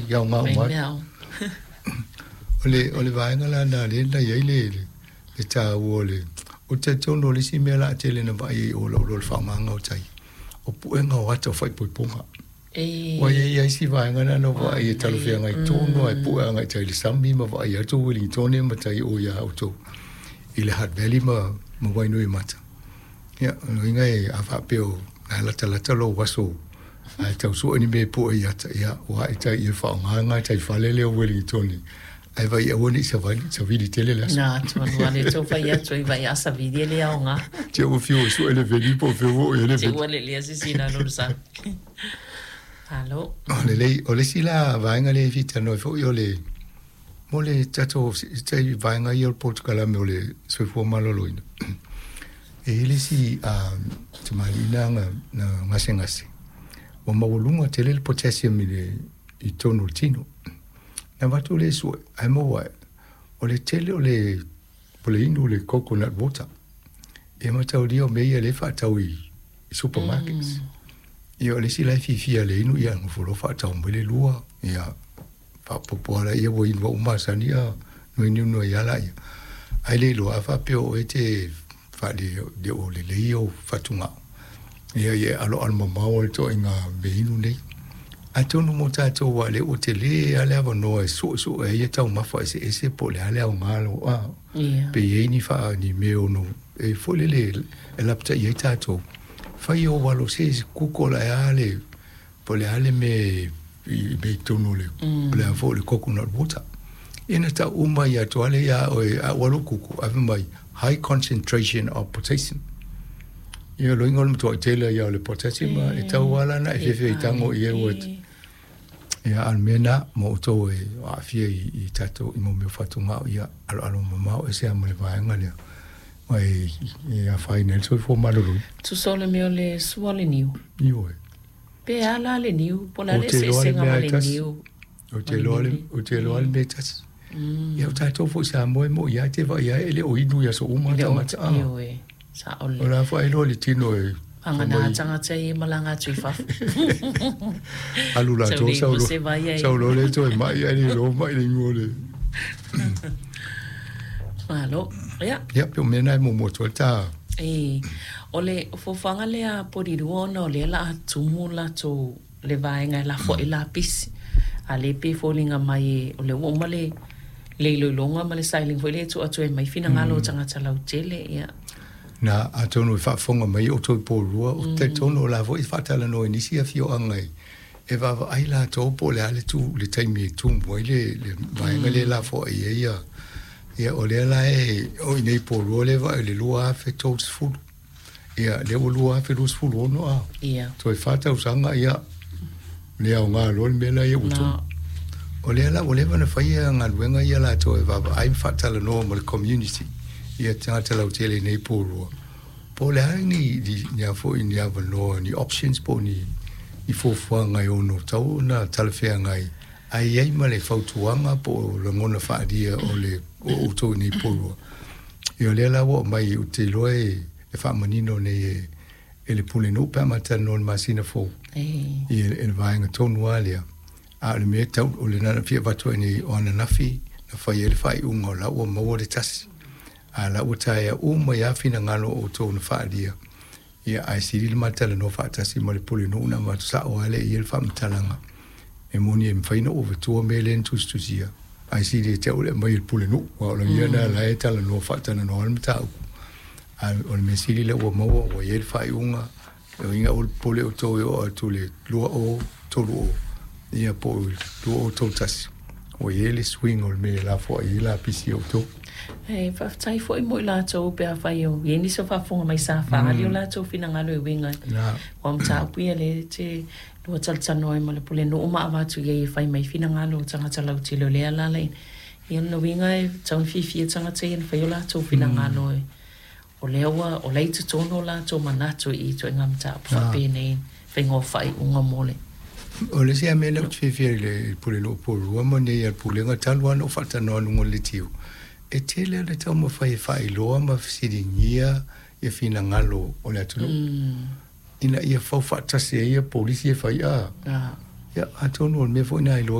e aoga uma atu. O le vaega la lena lea na i ai le taua o le. Ou te talitonu o le isi mea la a tele na vaai ai o lou le faaaogaga o tai o puega o ata o faaipoipoga. Ua i ai isi vaega na na vaai e talafeagai tonu lava e pue agai tai le sami ma vaai atu Ueligitone ma tai o ia outou i le Hutt Valley ma Wainuiomata. Ia, o le uiga e a faapea o na latalata lou aso ae tau sue ni mea e pue i ata, ia, ua ai tai i faaaoga tai fale lea o Ueligitone ae vai aua nei savali savili tele le aso. Na atu anu ale tau fai atu ai vai asa vili le aoga. Te ua fiu e sue le veli po feu o e le Te veli. Ua le lea sisina lo sa. Alo. O le lei, o le isi la vaega lea e fia foi o le mo le tatou tai vaega ia o le polokalame o le soifua maloloina. E i ai le isi tamalii na na gasegase ua maualuga tele le potassium i totonu o le tino. Na avatu le sue ae maua ai o le tele o le inu le coconut water. E mataulia o mea ia lea e faatau i supermarkets. Ia, o le isi la e fiafia le inu, ia nofo loa faatau mai le lua, ia faapopo ala ia ua inu au masani ia no inu no ia la ia. Ai le iloa a faapea o e te faale le o lelei o fatugao. Ia ia alo alo mamao le toaiga mea inu nei. Atonu mo tatou ua le ua tele a le avanoa e suesue ai ia taumafa eseese po o le a le aoga lo a pe i ai ni faa ni mea ono e foi lele e lapatai ai tatou. Fai o walo se kuko la e a le po o le a le mea i mea i totonu o le o le a foi le coconut water. Ina tau uma ia atu ale ia oe a ua lo kuko ave mai high concentration of potassium. Ia lo inga o le matuai tele ia o le potassium e tau ala na e fefe i tango i e ua ia al mea na mo outou e aafia i tatou i mo mea fatugao, ia aloalo mamao e se a ma le vaega lea mai e afaina ai le soifua maloloina. Tusa o le mea o le sua le niu. Ioe. Pe ala le niu, po o le a le Ou te iloa le eseesega mea ma e le tasi. Niu. Ou te iloa le mea e tasi. Ia o tatou foi Samoa e mo ia te vai ai e le o inu ia so uma Le o tagata. Ah. Ioe. Sa o O le. La foi iloa le tino e Pagana tagata e malaga atu i fafo. Alu la to sau lo se vai ai. Sau lo le toe mai ai le lo mai le ingo le. Malo. Ia. Ia pe o mea nai mo mo to ta. E, o le fofoga lea Porirua ona o lea la a tumu latou le vaega e lafo ai lapisi. A le pe foliga mai o le ua uma le iloiloga ma le sailiga foi lea e tuu atu ai mai finagalo o tagata lautele, ia. Na atonu e faafofoga mai o toi Porirua o te tonu o la foi faatalanoa i nisi afioaga e vaavaai latou po o le a le tu le taimi e tumu ai le vaega le lafoai ai ia ia o lea la e o i nei Porirua le vaai le 2030, ia lea ua 2026 a toe 4 tausaga, ia le aoga loa le mea la ia ua tumu. O lea la ua leva na faia galuega ia latou e vaavaai ma faatalanoa ma le community ia tagata lautele i nei Porirua po o le a ni a foi ni avanoa, ni options po o ni fuafuaga e ono tau ona talafeagai ae i ai ma le fautuaga po o lagona faaalia o le o outou i nei Porirua. Ia o lea la ua aumai ou te iloa e faamanino nei e le pulenuu pe a matalanoa i le masina fou i le vaega tonu lava lea. A o le mea tau o le na fia avatu ai nei o ananafi na fai ai le faaiuga o la ua maua le tasi a la ua taea uma ia finagalo o outou na faaalia, ia ae sili le matalanoa faatasi ma le pulenuu na avatu sao lava lea i ai le faamatalaga e moni e mafai ona ou avatua mea lea na tusitusia ae sili e te au le aumai e le pulenuu aua o la ia na la e talanoa faatalanoa le mataupu. A o le mea sili lea ua maua ua i ai le faaiuga e uiga aua le popole outou e oo atu le 2030 ia po o 2031 ua i ai le suiga o le mea e lafoai ai lapisi e outou. E faafetai foi mo i latou pe afai o i ai nisi o faafofoga mai sa faaali o latou finagalo e uiga na ua mataupu ia lea te lua talatalanoa ai ma le pulenuu ma avatu i ai e fai mai finagalo o tagata lautele o lea alala ia lona uiga e tau fiafia tagata ia na fai o latou finagalo e o lea ua o la i totonu o latou manatu i ituaiga mataupu faapenei faiga o faaiuga mo le O le isi mea lea ou te fiafia i le pulenuu Porirua ma nei a le pulega talu lava ona ou faatalanoa i luga o le letiu e tele le taumafai e faailoa ma fesiligia ia finagalo o le atunuu ina ia fau faatasi ai ia polisi e fai a ia atonu o le mea foi na iloa.